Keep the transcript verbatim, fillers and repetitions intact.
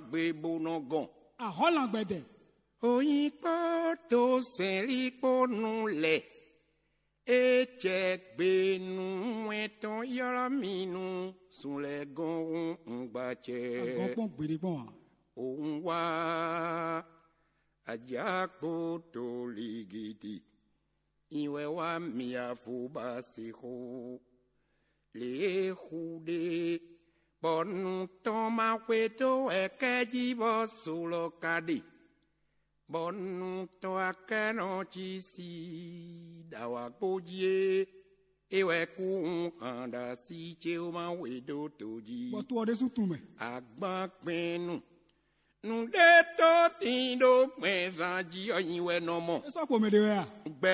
gbe bó nɔ gɔn. Ahɔ́lan gbɛdɛ. Oyin kpó to sɛnlí kpó nu lɛ. É jɛ gbe nú wɛn tɔn ylɔ́ mì nú sun lɛ́ gɔn hun ngbacɛ. Agɔn kpɔn gbeɖé kpɔn a? Òun wá ajákpó tó ligidi. Ìwɛ wá mi afobasixo. Lě e xu ɖe bɔ nu tɔn ma xwedó wɛ kɛ́ jí bɔ so lɔ ka ɖe. Bɔ nu tɔn akɛ́nɔ cí sí ɖawǎgbó jí é. É wɛ kú hun xan ɖo así ce ó ma we dó to jí. Bɔ to ɔ́ ɖésú tun mɛ. Agban kpɛn nu. Nǔɖé tó tín ɖó gbɛnzán jí ɔ́ nyi wɛ nɔ mɔ. É sɔ́ kpo mɛ ɖé wɛ a? Gbɛ